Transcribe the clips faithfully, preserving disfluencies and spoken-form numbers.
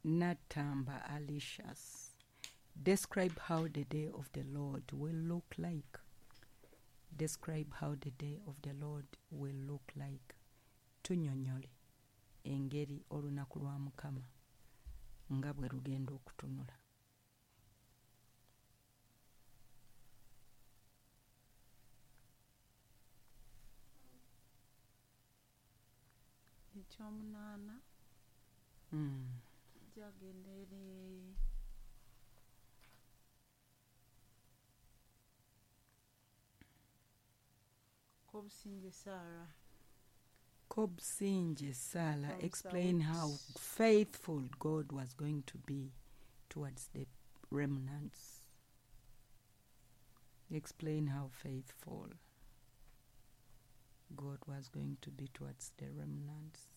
Natamba Alicious. Describe how the day of the Lord will look like. Describe how the day of the Lord will look like. Tunnyonnyole engeri olunaku lwa Mukama nga bwe lugenda okutunula. Ekyomunaana Mm. kijagenda eri Kobusinge Sarah. Kobsinje Sala From explain Saudi. how faithful God was going to be towards the remnants. Explain how faithful God was going to be towards the remnants.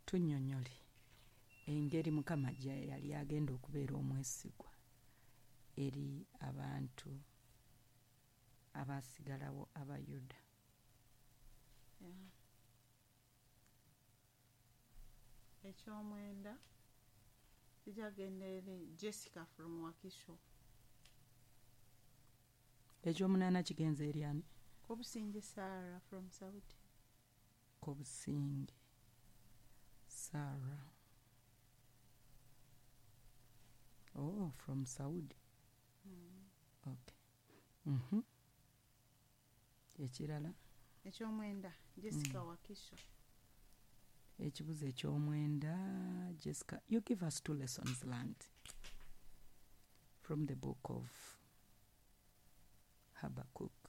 Tunnyonnyole engeri Mukama gye yali agenda okubeera omwesigwa eri abantu abaasigalawo Abayuda. Yeah. Ekyomwenda kijagenda eri Jessica from Wakiso. Ekyomunaana kigenze eri ani? Kobusinge Sarah from Saudi. Kobusinge Sarah. Oh, from Saudi. Mm. Okay. Mhm. Ekirala Ekyomwenda Jessica Mm. Wakiso. ekibuzo ekyomwenda Jessica, you give us two lessons learned from the book of Habakkuk.